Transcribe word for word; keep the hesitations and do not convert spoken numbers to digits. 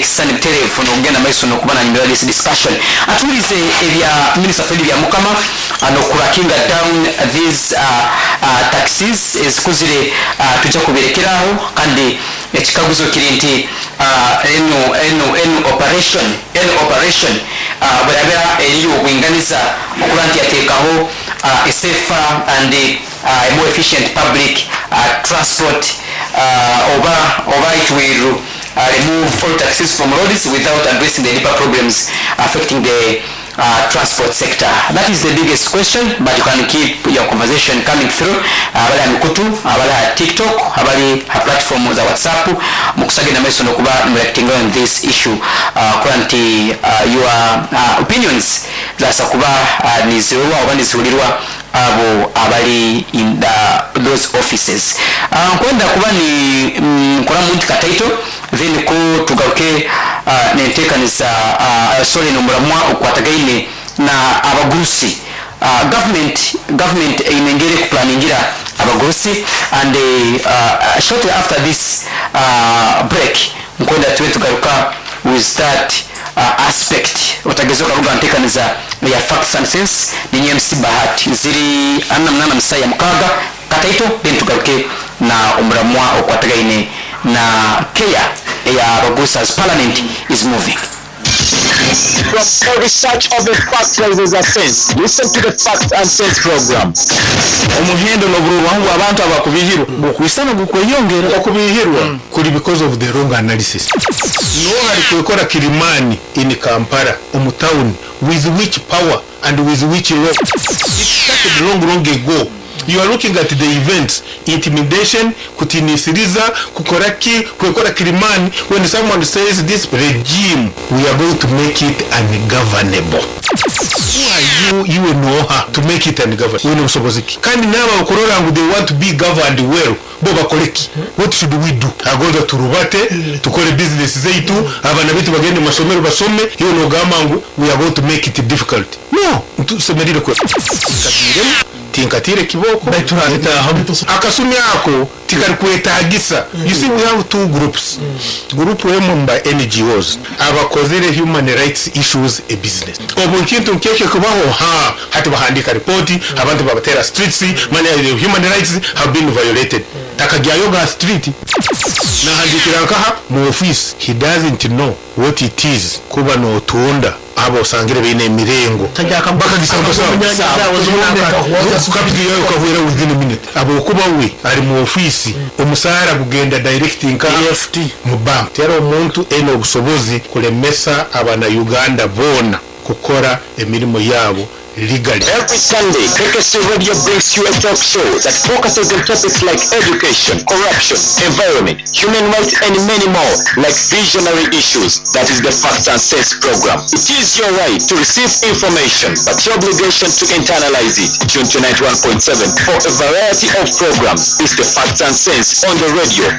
Ekisani butereevu nokugenda maiso nokuba nanyumira this discussion. Atuwulize ebya Minister Fred Byamukama nokurakinga down these uh, uh, taxes ezikuzire. uh, tujja kubirekeraho, kandi ekikaguzo kiri nti uh, eno eno eno operation eno operation uh, bwerabera eri obwinganiza okuba nti yateekaho uh, a safer and uh, a more efficient public uh, transport, uh, oba oba it will uh, remove all taxes from roads without addressing the deeper problems affecting the uh, transport sector. That is the biggest question, but you can keep your conversation coming through. Abali uh, mikutu, abali ha TikTok, abali ha platform za WhatsApp, mukusagenda maiso nokuba reacting on this issue, uh, kuba nti uh, your uh, opinions zasa kuba uh, nizirwa oba niziwulirwa abo abali in the, those offices. uh, nkwenda kuba ni mm, nkola muntu kataito, then ko tugaruke uh, nenteekaniza, uh, sorry, nomuramwa okwatagaine na abagurusi. uh, government government eine engeri ekuplaningira abagurusi, and uh, shortly after this uh, break nkwenda tube tugaruka with that uh, aspect. Otageza okaruga nteekaniza ya Facts and Sense, ninye M C Bahati. Ziri ana munana musaya mukaga kataito, then tugaruke na omuramwa okwatagaine na care ya abagurusi as parliament is moving. From every search of the fact there is a sense. Listen to the Fact and Sense program. Omuhendo n'obururwaho bw'abantu abakubihirwa gukwisana gukweyongera. Okubihirwa kuri because of the wrong analysis. No hari kwekora Kilimani in Kampala omu town, with which power and with which law? It started long, long ago. You are looking at the events, intimidation, kutinisiriza, kukora ki, kwekora Kilimani. When someone says this regime, we are going to make it ungovernable, who are you? You know how to make it ungovernable? Wine busobozi ki? Kandi n'aba bakurora ngu they want to be governed well, bo bakore ki? What should we do? Agonza turubate, tukore business zeitu, abana bitu bagende mu masomero basome, iyo nogamba ngu we are going to make it difficult. No, tusemerire kwe nkagiremu tinkatire kiboko akasumi ako tikari kwetagisa. You see, we have two groups. Group emu mba N G Os abakozere human rights issues a business. Obu nkintu nkeke kubaho, ha hati bahandika ripoti, abantu babatera streets manya the human rights have been violated. Takagyayo ga street nahandikira nkaha mu office. He doesn't know what it is kuba notunda abo osangire beine emirengo bakagisambasabukapigiyayo ukahwera within a minute. Abo kuba we ari mu ofisi, omusaara gugenda direct nka E F T mu bank. Tera omuntu ene obusobozi kulemesa abana Uganda boona kukora emirimu yabo legally. Every Sunday, K K C Radio brings you a talk show that focuses on topics like education, corruption, environment, human rights, and many more, like visionary issues. That is the Facts and Sense program. It is your right to receive information, but your obligation to internalize it. Tune to ninety-one point seven for a variety of programs. It's the Facts and Sense on the radio.